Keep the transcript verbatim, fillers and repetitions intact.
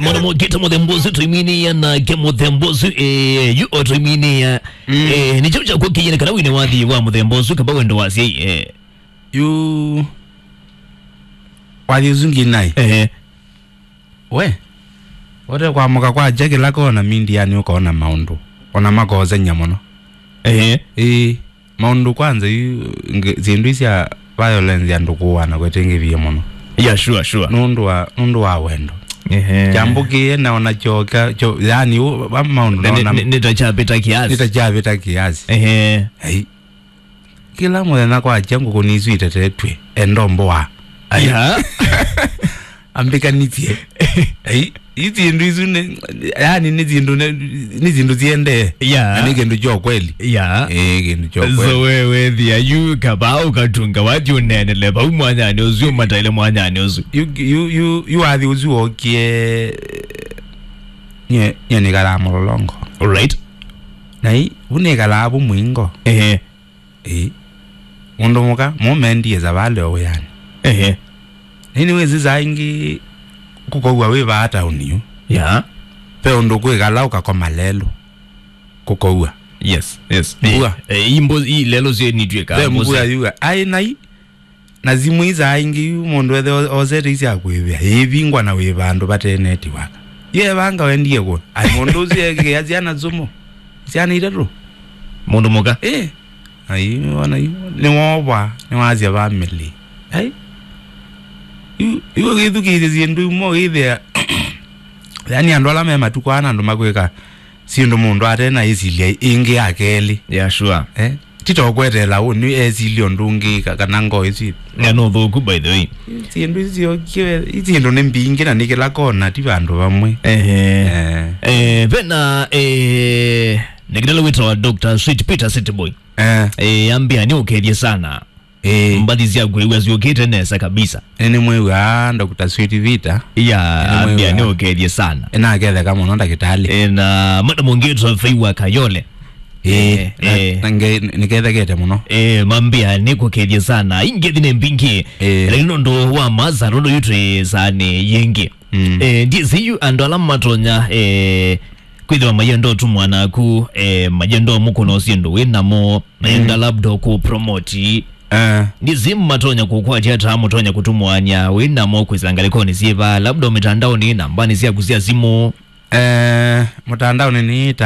Mwana mũkĩte mũthemba ũsu tũiminĩĩa nake mũthemba ũsu, eh, yu o tũiminĩĩa. Mm. Eh, nĩ kyaũ kyaku kĩyene kana wĩne wathi wa mũthemba ũsu kamba wendo wasya, eh. Yu wathi ũsu ngĩ naĩ. Ehe. We, wote kwamũka kwa Jack kĩla kona mindiani ũkaona maũndũ. Ona makosenya mũno. Ehe. Ĩĩ. Maũndũ kwanza yu, nge-, syĩndũ sya violence, andũ kũana kwetengevie mũno. Yeah, sure, sure. Nũndũ wa, nũndũ wa wendo. Ehe. Kyambũkĩe na ona kyoka, kyo, yani, u-, va maũndũ nĩ, nĩ, naona nĩ, nĩ ta kyavĩta kiasi. Nĩ ta kyavĩta kiasi. Ehe. Ai. Kĩla mũthenya kwakya ngũkũ nisu itetetw'e, endomboa. Ai. Yeah. Ambĩkanĩtye. Ai, i syĩndũ isu nĩ, yani nĩ syĩndũ nĩ, nĩ syĩndũ siendee. Yeah. Na nĩ kĩndũ kya kweli. Yeah. Eh, kĩndũ kya kweli. So we, wethĩa yu kavaa ũkatunga wathi ũneenele vau mwanyanĩ ũsu, ũmataĩle mwanyanĩ ũsu. Yu, yu, yu, yu wathi ũsu wokie, nye, nye nĩkalaa Mũlolongo. All right. Na i, vu nĩkalaa vu Mwingo. Ehe. Ĩĩ. Mũndũ mũka, mũmendie savale o wĩanĩ. Ehe. Nini wĩsĩ saa ingĩ kũkow'a wĩ vaa taũni yu. Yeah. Ve ũndũ kwĩkala ũkakoma lelũ. Kũkow'a. Yes, yes. Mbua. Eh, eh, imbo, i lelũ syenitw'ĩka. Ve mbua yuga. Ai nai. Na simũ i saa ingĩ yu mũndũ ethe o-, osete isya kwĩvĩa. Ĩvingwa na wĩ vandũ vate netiwaka. Ye vanga wendie kũ. Ai mũndũ ũsu ekĩa syana sumu. Syana itatũ. Mũndũ mũka. Eh. Ai, ona yu, nĩwovwa, nĩwasya family. Ai. Yu, yu ũkĩthukĩĩsya syĩndũ imwe ũkĩthĩa, yani andũ ala me matukũ ana andũ makwĩka syĩndũ mũndũ ate na ĩsilya ĩngĩ ya kelĩ. Yeah, sure. Eh? Ti ta ũkweteela ũ, nĩ esilya ũndũ ũngĩ ka-, kana ngoo ĩsu. Na no thũku, by the way. Syĩndũ icio kĩwe, i syĩndũ nĩ mbingĩ na nĩ kĩla kona, ti vandũ vamwe. Ehe. Eh. Eh, vena, eh, nĩ kĩtala wĩtawa Doctor Sweet Peter City Boy. Eh. Eh, ambĩa nĩ ũkethie sana. Eh. Mbathi sya kwĩw'a syũkĩte nesa kabisa. Ĩĩ, nĩ mwĩw'a Doctor Sweet Vita. Ya, ambĩa nĩ ũkethie sana. Ĩnaketheka mũno ndakĩtalĩ. Eh, na madam ũngĩ wĩtawa Feiwa Kayole. Eh, eh, na, eh. Na nge-, nĩkethekete mũno. Eh, mambĩa nĩ kũkethie sana. Ingethi nĩ mbingĩ. Eh. Lakini nũndũ wa masa, nũndũ yu twĩ saanĩ yĩngĩ. Mm. Eh, ndiĩsĩ yu andũ ala matonya, eh, kwĩthĩwa mayenda ũtumwa naku, eh, mayenda ũmũkũna syĩndũ wĩ namo, mayenda labda kũ promote. Eh. Ndiĩsĩ matonya kũkwatya ata mũtonya kũtumwany'a wĩ namo kwĩsĩla ngalĩkonĩ syĩva, labda mĩtandaonĩ, nambanĩ syaku sya simũ. Eh, mũtandaonĩ nĩ ta